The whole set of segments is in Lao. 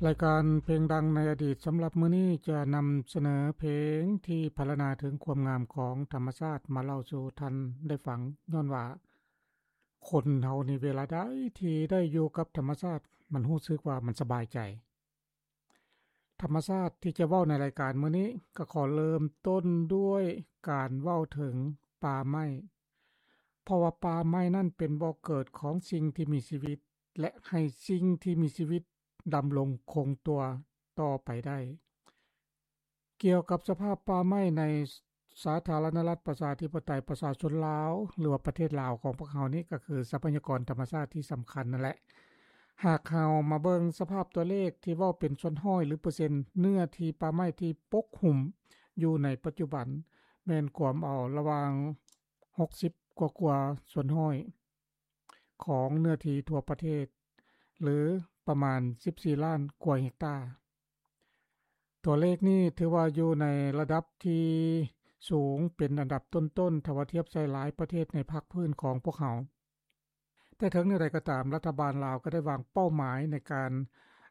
ລາຍການເພງດັງໃນອະດີດສຳລັບມື້ນີ້ຈະນຳສະເໜີເພງທີ່ພັນລະນາເຖິງຄວາມງາມຂອງທຳມະຊາດມາເລົ່າສູ່ທ່ານໄດ້ຟັງ, ຍ້ອນວ່າຄົນເຮົານີ້ເວລາໃດທີ່ໄດ້ຢູ່ກັບທຳມະຊາດ ມັນຮູ້ສຶກວ່າມັນສະບາຍໃຈ. ທຳມະຊາດທີ່ຈະເວົ້າໃນລາຍການມື້ນີ້ ກໍຂໍເລີ່ມຕົ້ນດ້ວຍການເວົ້າເຖິງປ່າໄມ້, ເພາະວ່າປ່າໄມ້ນັ້ນເປັນບໍ່ເກີດຂອງສິ່ງທີ່ມີຊີວິດ ແລະ ໃຫ້ສິ່ງທີ່ມີຊີວິດດຳລົງຄົງຕົວຕໍ່ໄປໄດ້. ກ່ຽວກັບສະພາບປ່າໄມ້ໃນສາທາລະນະລັດປະຊາທິປະໄຕປະຊາຊົນລາວ ຫຼືວ່າປະເທດລາວຂອງພວກເຮົານີ້ ກໍຄືຊັບພະຍາກອນທຳມະຊາດທີ່ສຳຄັນນັ້ນແຫຼະ. ຫາກເຮົາມາເບິ່ງສະພາບຕົວເລກທີ່ເວົ້າເປັນສ່ວນຮ້ອຍ ຫຼື ເປີເຊັນ ເນື້ອທີ່ປ່າໄມ້ທີ່ປົກຫຸ້ມຢູ່ໃນປັດຈຸບັນ ແມ່ນກວມເອົາລະຫວ່າງ ຫົກສິບກວ່າໆສ່ວນຮ້ອຍຂອງເນື້ອທີ່ທົ່ວປະເທດ ຫຼື ປະມານ ສິບສີ່ລ້ານກວ່າເຮັກຕາ. ຕົວເລກນີ້ຖືວ່າຢູ່ໃນລະດັບທີ່ສູງ ເປັນອັນດັບຕົ້ນໆ ຖ້າວ່າທຽບໃສ່ຫຼາຍປະເທດໃນພາກພື້ນຂອງພວກເຮົາ. ແຕ່ເຖິງແນວໃດກໍຕາມ, ລັດຖະບານລາວກໍໄດ້ວາງເປົ້າໝາຍໃນການ,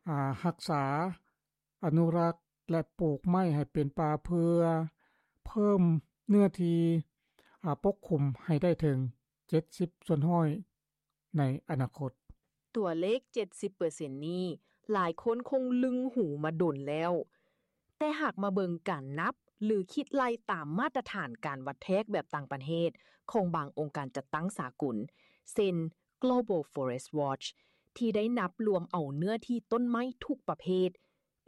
ອາ, ຮັກສາ, ອະນຸລັກ ແລະ ປູກໄມ້ໃຫ້ເປັນປ່າ ເພື່ອເພີ່ມເນື້ອທີ່, ອາ, ປົກຄຸມໃຫ້ໄດ້ເຖິງ ເຈັດສິບສ່ວນຮ້ອຍໃນອະນາຄົດ. ຕົວເລກ ເຈັດສິບເປີເຊັນນີ້ ຫຼາຍຄົນຄົງລຶງຫູມາດົນແລ້ວ, ແຕ່ຫາກມາເບິ່ງການນັບ ຫຼື ຄິດໄລ່ຕາມມາດຕະຖານການວັດແທກແບບຕ່າງປະເທດຂອງບາງອົງການຈັດຕັ້ງສາກົນ ເຊັ່ນ Global Forest Watch ທີ່ໄດ້ນັບລວມເອົາເນື້ອທີ່ຕົ້ນໄມ້ທຸກປະເພດ,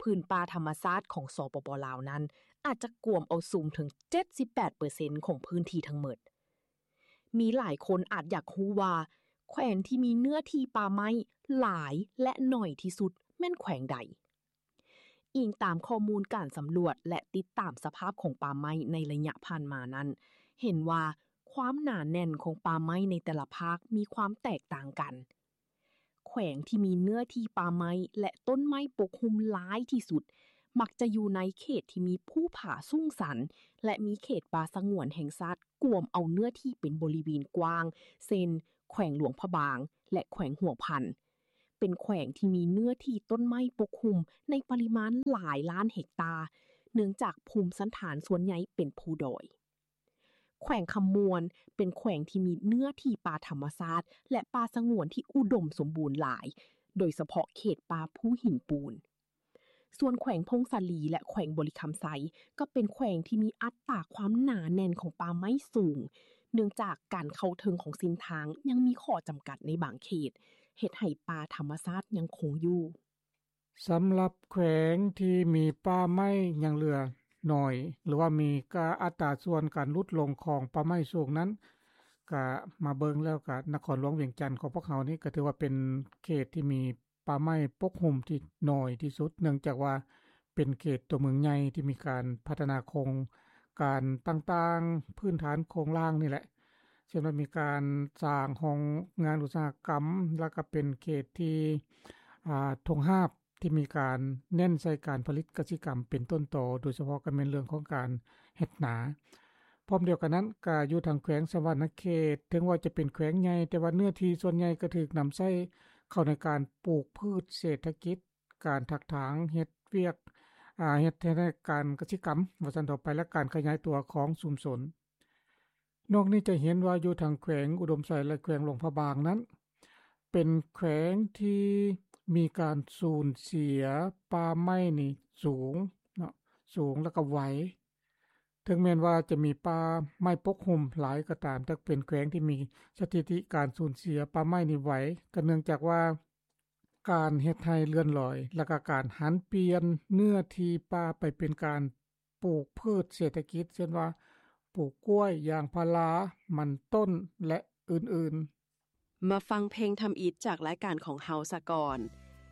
ພື້ນປ່າທຳມະຊາດຂອງ ສປປ ລາວ ນັ້ນ ອາດຈະກວມເອົາສູງເຖິງ ເຈັດສິບແປດເປີເຊັນຂອງພື້ນທີ່ທັງໝົດ. ມີຫຼາຍຄົນອາດຢາກຮູ້ວ່າ ແຂວງທີ່ມີເນື້ອທີ່ປ່າໄມ້ຫຼາຍ ແລະ ໜ້ອຍທີ່ສຸດແມ່ນແຂວງໃດ? ອີງຕາມຂໍ້ມູນການສຳຫຼວດ ແລະ ຕິດຕາມສະພາບຂອງປ່າໄມ້ໃນໄລຍະຜ່ານມານັ້ນ, ເຫັນວ່າຄວາມໜາແໜ້ນຂອງປ່າໄມ້ໃນແຕ່ລະພາກມີຄວາມແຕກຕ່າງກັນ. ແຂວງທີ່ມີເນື້ອທີ່ປ່າໄມ້ ແລະ ຕົ້ນໄມ້ປົກຫຸ້ມຫຼາຍທີ່ສຸດ ມັກຈະຢູ່ໃນເຂດທີ່ມີພູຜາສູງຊັນ ແລະ ມີເຂດປ່າສະຫງວນແຫ່ງຊາດກວມເອົາເນື້ອທີ່ເປັນບໍລິເວນກວ້າງ ເຊັ່ນ ແຂວງຫຼວງພະບາງ ແລະ ແຂວງຫົວພັນ. ເປັນແຂວງທີ່ມີເນື້ອທີ່ຕົ້ນໄມ້ປົກຫຸ້ມໃນປະລິມານຫຼາຍລ້ານເຮັກຕາ, ເນື່ອງຈາກພູມສັນຖານສ່ວນໃຫຍ່ເປັນພູດອຍ. ແຂວງຄຳມ່ວນເປັນແຂວງທີ່ມີເນື້ອທີ່ປ່າທຳມະຊາດ ແລະ ປ່າສະຫງວນທີ່ອຸດົມສົມບູນຫຼາຍ, ໂດຍສະເພາະເຂດປ່າພູຫີນປູນ. ສ່ວນແຂວງຜົ້ງສາລີ ແລະ ແຂວງບໍລິຄຳໄຊ ກໍເປັນແຂວງທີ່ມີອັດຕາຄວາມໜາແໜ້ນຂອງປ່າໄມ້ສູງ, ເນື່ອງຈາກການເຂົ້າເຖິງຂອງເສັ້ນທາງຍັງມີຂໍ້ຈຳກັດໃນບາງເຂດ, ເຮັດໃຫ້ປ່າທຳມະຊາດຍັງຄົງຢູ່. ສຳລັບແຂວງທີ່ມີປ່າໄມ້ຍັງເຫຼືອໜ້ອຍ ຫຼືວ່າມີກາ ອັດຕາສ່ວນການຫຼຸດລົງຂອງປ່າໄມ້ສູງນັ້ນ, ກະມາເບິ່ງແລ້ວກະນະຄອນຫຼວງວຽງຈັນຂອງພວກເຮົານີ້ ກະຖືວ່າເປັນເຂດທີ່ມີປ່າໄມ້ປົກຫຸ້ມທີ່ໜ້ອຍທີ່ສຸດ, ເນື່ອງຈາກວ່າເປັນເຂດຕົວເມືອງໃຫຍ່ທີ່ມີການພັດທະນາໂຄງການຕ່າງໆ ພື້ນຖານໂຄງລ່າງນີ້ແຫຼະ. ເຊັ່ນວ່າມີການສ້າງໂຮງງານອຸດສາຫະກຳ, ແລ້ວກໍເປັນເຂດທີ່ ອາ ທົ່ງຮາບທີ່ມີການເນັ້ນໃສ່ການຜະລິດກະສິກຳເປັນຕົ້ນຕໍ, ໂດຍສະເພາະກໍແມ່ນເລື່ອງຂອງການເຮັດນາ. ພ້ອມດຽວກັນນັ້ນ, ກໍຢູ່ທາງແຂວງສະຫວັນນະເຂດ, ເຖິງວ່າຈະເປັນແຂວງໃຫຍ່, ແຕ່ວ່າເນື້ອທີ່ສ່ວນໃຫຍ່ກໍຖືກນຳໃຊ້ເຂົ້າໃນການປູກພືດເສດຖະກິດ, ການຖາກຖາງເຮັດວຽກ, ອາ, ເຮັດໃຫ້ການກະສິກຳ ວ່າຊັ້ນເຖາະໄປ, ແລະ ການຂະຫຍາຍຕົວຂອງຊຸມຊົນ. ນອກນີ້ຈະເຫັນວ່າຢູ່ທາງແຂວງອຸດົມໄຊ ແລະ ແຂວງຫຼວງພະບາງນັ້ນ ເປັນແຂວງທີ່ມີການສູນເສຍປ່າໄມ້ນີ້ສູງເນາະ, ສູງ ແລ້ວກໍໄວ. ເຖິງແມ່ນວ່າຈະມີປ່າໄມ້ປົກຫຸ້ມຫຼາຍກໍຕາມ, ແຕ່ເປັນແຂວງທີ່ມີສະຖິຕິການສູນເສຍປ່າໄມ້ນີ້ໄວ, ກໍເນື່ອງຈາກວ່າ ການເຮັດໄຮ່ເລື່ອນລອຍ ແລະ ກະການຫັນປ່ຽນເນື້ອທີ່ປ່າໄປເປັນການປູກພືດເສດຖະກິດ, ເຊັ່ນວ່າ ປູກກ້ວຍ, ຢາງພາລາ, ມັນຕົ້ນ ແລະ ອື່ນໆ. ມາຟັງເພງທຳອິດຈາກລາຍການຂອງເຮົາສາກ່ອນ.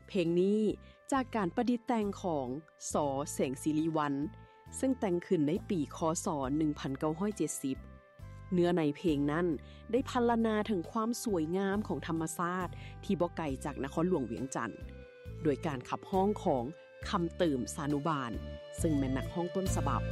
ເພງນີ້ຈາກການປະດິດແຕ່ງຂອງ ສ. ແສງສິລິວັນ ເຊິ່ງແຕ່ງຂຶ້ນໃນປີ ຄ.ສ. ໜຶ່ງພັນເກົ້າຮ້ອຍເຈັດສິບ. ເນື້ອໃນເພງນັ້ນໄດ້ພັນລະນາເຖິງຄວາມສວຍງາມຂອງທຳມະຊາດທີ່ບໍ່ໄກຈາກນະຄອນຫຼວງວຽງຈັນ, ໂດຍການຂັບຮ້ອງຂອງ ຄຳເຕີມ ສານຸບານ ເຊິ່ງແມ່ນນັກຮ້ອງຕົ້ນສະບັບ.